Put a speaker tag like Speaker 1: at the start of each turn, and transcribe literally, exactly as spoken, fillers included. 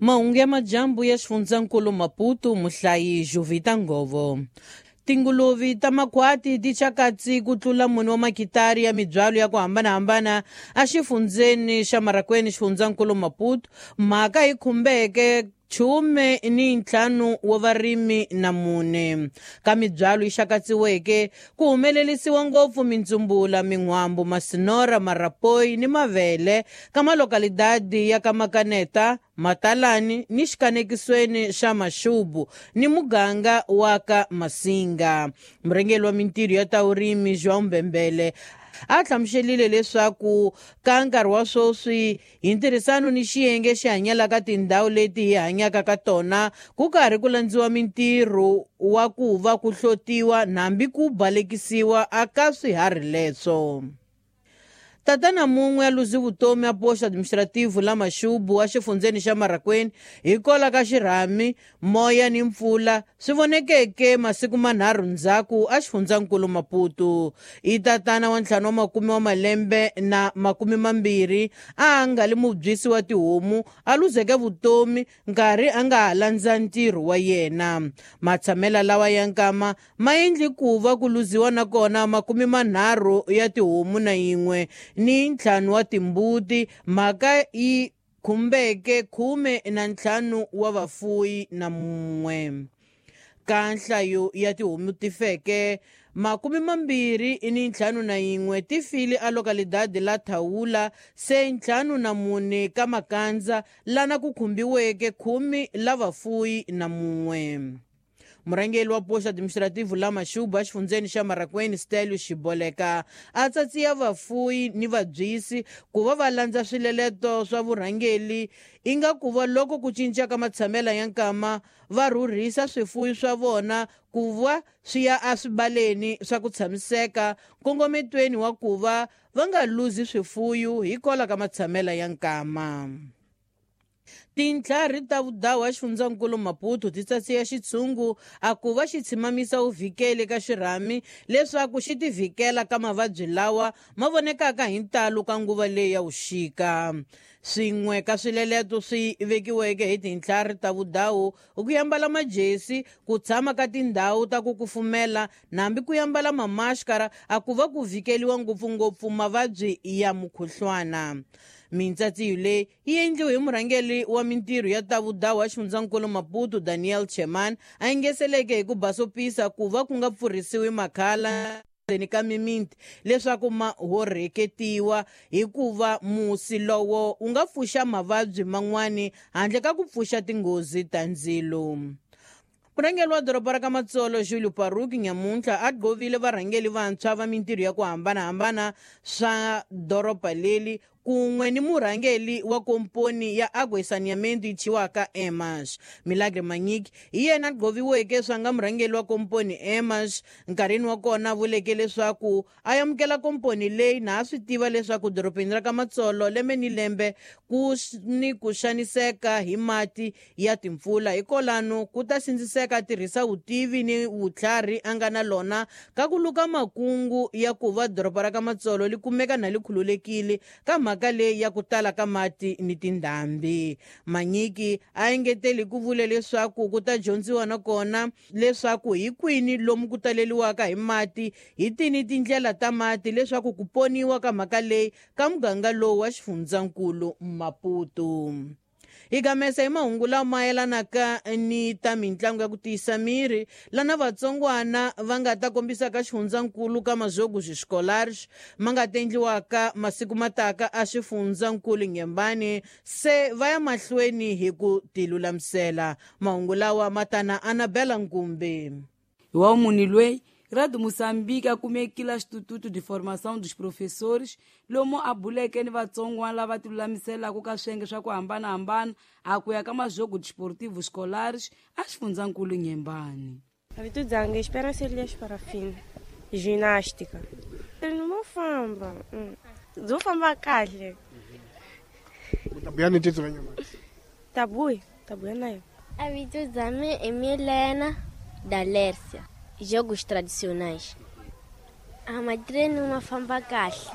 Speaker 1: Mahungu ya majambu ya xifundzankulu Maputo, muhlayi Jovita Ngovo. Tinguluve ta makhwati ti chakatsi ku tlula mune wa makitari ya mibyalo ya ku hambanahambana exifundzeni xa Marracuene, xifundzankulu Maputo. Mhaka yi khumbeke chume ni ntlhanu wa varimi na mune. Ka mibyalo yi xakatsiweke ku humelerisiwa ngopfu mintsumbula, min'wambu, masinora, marapoyi ni mavele ka malokalidadi ya ka Makaneta, Matalani ni xikanekisweni xa Maxubu ni muganga wa ka Masinga. Murhangeri wa mintirho ya ta vurimi João Mbembele a hlamuselile leswaku ka nkarhi wa sweswi hi ntirhisano ni xiyenge xi hanyelaka tindhawu leti hi hanyaka ka tona ku karhi ku landziwa mintirho wa ku va ku hlotiwa hambi ku balekisiwa aka swiharhi leswo. Tatana mun'we a luzi vutomi a posto administrativo la Maxubu exifundzeni xa Marracuene hikwalaho ka xirhami, moya ni mpfula swi vonekeke masiku manharhu ndzhaku exifundzankulu Maputo. I tatana wa ntlhanu wa makume wa malembe na makume mambirhi a nga li mubyisi wa tihomu a luzeke vutomi nkarhi a nga ha landza ntirho wa yena. Matshamela lawa ya nkama ma endli ku va ku luziwa nakona makume manharhu ya tihomu na yin'we ni ntlhanu wa timbuti, mhaka yi khumbeke khume na ntlhanu wa vafuyi na mun'we. Ka nhlayo ya tihomu ti feke makume mambirhi ni ntlhanu na yin'we ti file a localidade la Thawula, se ntlhanu na mune ka Makandza lana ku khumbiweke khume la vafuyi na mun'we. Murhangeri wa posto administrativo la Maxubu exifundzeni xa Marracuene, Stelio Xiboleka, a tsatsiya vafuyi ni vabyisi ku va va landza swileleto swa vurhangeri inga ku va loko ku cinca ka matshamela ya nkama va rhurhisa swifuyi swa vona ku va swi ya eswibaleni swa ku tshamiseka nkongometweni wa ku va va nga luzi swifuyu hikwalaho ka matshamela ya nkama. Tintlhari ta vudawu exifundzankulu Maputo ti tsatsiya xitshungu a ku va xi tshimamisa vuvikeli ka xirhami leswaku xi tivikela ka mavabyi lawa ma vonekaka hi ntalo ka nguva leyi ya vuxika. Swin'we ka swileleto swi vekiweke hi tintlhari ta vudawu i ku yambala majesi, ku tshama ka tindhawu ta ku kufumela nambi ku yambala mamaskara a ku va ku vikeliwa ngopfungopfu mavabyi ya mukhuhlwana. Mintsatsiyo leyi yi endliwe hi murhangeri wa mintirho ya ta vudawu exifundzankulu Maputo, Daniel Cheman, a engeseleke hi ku basopisa ku va ku nga pfurhisiwi makhala ndzeni ka mimiti leswaku ma horheketiwa hikuva musi lowo wu nga pfuxa mavabyi man'wani handle ka ku pfuxa tinghozi ta ndzilo. Murhangeri wa doroba ra ka Matsolo Julio Paruki nyamuntlha a gqovile varhangeri vantshwa va mintirho ya ku hambanahambana swa doroba leri kun'we ni murhangeri wa komponi ya Água e Saneamento yi thyiwaka Emas. Milagre Manyiki hi yena a gqoviweke swa nga murhangeri wa komponi Emas. Nkarhini wa kona vuleke leswaku a amukela komponi leyi na a swi tiva leswaku dorobeni ra ka Matsolo lembe ni lembe ku ni ku xaniseka hi mati ya timpfula, hikwalano ku ta sindziseka a tirhisa vutivi ni vutlhari a nga na lona ka ku luka makungu ya ku va doroba ra ka Matsolo li kumeka na li khululekile ka mhaka leyi ya ku tala ka mati ni tindhambi. Manyiki a engeteli ku vule leswaku ku ta dyondziwa nakona leswaku hi kwini lomu ku taleliwaka hi mati, hi tini tindlela ta mati leswaku ku poniwa ka mhaka leyi ka muganga lowu wa xifundzankulu Maputo. Hi gamesa hi mahungu lama mayelanaka ni ta mitlangu ya ku tiyisa miri lana vatsongwana va nga ta kombisa ka xifundzankulu ka Majogos Escolares ma nga ta endliwaka masiku mataka a xifundzankulu Inhambane, se va ya mahlweni hi ku tilulamisela. Mahungu lawa ma tana Anabela Nkumbi.
Speaker 2: Hi wa munhu loyi Rádio Moçambique a kumekile Instituto de Formação dos Professores lomu a buleke ni vatsongwana lava tilulamiselaka ka swiyenge swa ku hambanahambana a ku ya ka Majogos Desportivos Escolares a xifundzankulu Inhambane.
Speaker 3: Vito dzanga Esperança Elias Parafina, ginástica. Mo famba, dzo famba kahle.
Speaker 4: Tabuya ni titso nyama.
Speaker 3: Tabuya, tabuya nayo.
Speaker 5: A vito dzame é Milena da Lércia. Jogos tradicionais. A madrena uma famba kahle.